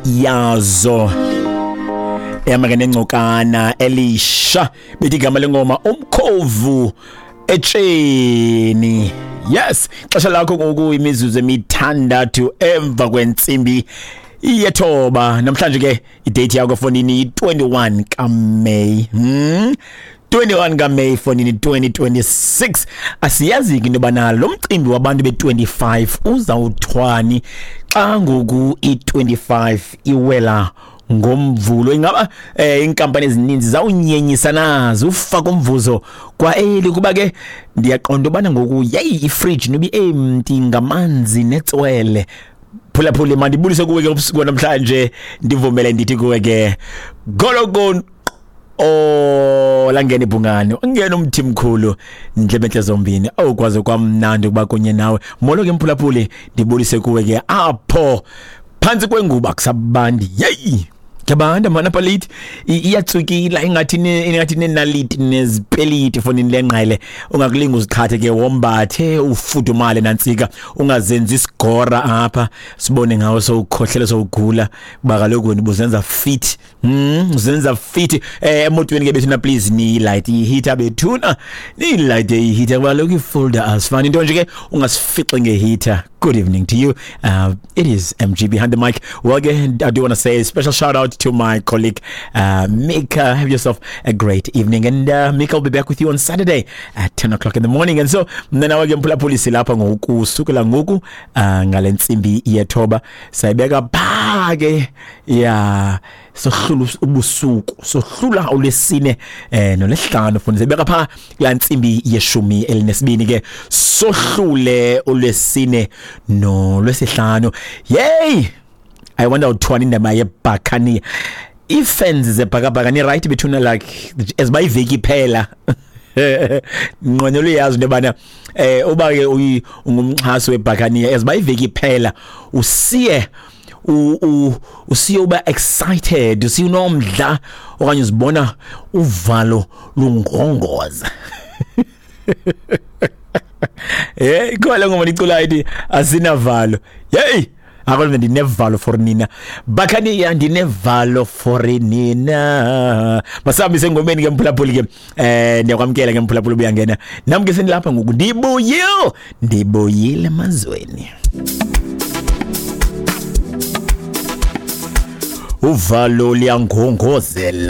Yazo ehamba nengcokana elisha bethi igama lengoma umkhovu etsheni. Yes, xesha lakho ngoku imizuzu emithandathu emva kwentsimbi yethoba. Namhlanje ke idate yakho fonini yi-21 kaMeyi, 21 kaMeyi fonini 2026. Asiyazi ke into yobana lo mcimbi wabantu be-25 uzawuthwani xa ngoku i-25 iwela ngomvulo. Ingaba inkampani ezininzi zawunyenyisa nazo ufaka umvuzo kwa eli? Kuba ke ndiyaqonda ubana ngoku yeyi ifridge nobi empty ngamanzi netswele. Phulaphule, mandibulise kuwe ke ubusuku namhlanje, ndivumele ndithi kuwe ke golokon. Oh, langena ibhungane, ungena umthi mkhulu, ndlebe entle zombini. Awukwazi kwamnandi ukuba kunye nawe. Molo ke mphulaphuli, ndibulise kuwe ke apho phantsi kwenguba kusabandi. Yeyi, kuyabanda mana apha leyithi, iyatsukila ingathi ingathi nenaliti nezipeliti fonini lengqele. Ungakulinga uziqhathe ke, wombathe ufudumale nantsika, ungazenzi isigora apha sibone ngawo sowukhohlela sowugula, kuba kaloku wena ubuzenza fit. Uzenza fit emotweni ke bethuna, please niyilayite iheater bethuna, niyilayite iheater kuba kaloku ifolder asifani into nje ke, ungasifici ngeheater. Good evening to you. It is MG behind the mic. Well, again, I do want to say a special shout out to my colleague, Mika. Have yourself a great evening. And Mika will be back with you on Saturday at 10 o'clock in the morning. And so, mna nawe ke mphulaphuli silapha ngoku, sukela ngoku ngale ntsimbi yethoba sayibeka pha ke ya sohlula ubusuku, sohlula olwesine nolwesihlanu fundi, sayibeka pha kulaa ntsimbi yeshumi elinesibini ke, sohlule olwesine nolwesihlanu. Yey, I wonder uthwani indaba yebhakaniya, ii-fans zebhakabhaka ni right bethuna, like as uba iveki iphela nqwenela uyazi into yobana uba ke ungumxhasi webhakaniya, as uba iveki iphela usiye usiye uba excited, usiye unomdla okanye uzibona uvalo lungongoza. Ikhona le ngoma ndiculayo ithi asinavalo. Yeyi, akho ndinevalo for nina Bhakaniya, ndinevalo for nina. Masihambise engomeni ke mphulaphuli ke. Ndiyakwamkela ke mphulaphuli, ubuyangena nam ke sendilapha ngoku, ndibuyile, ndibuyile emazweni. Uvalo liyangongozela.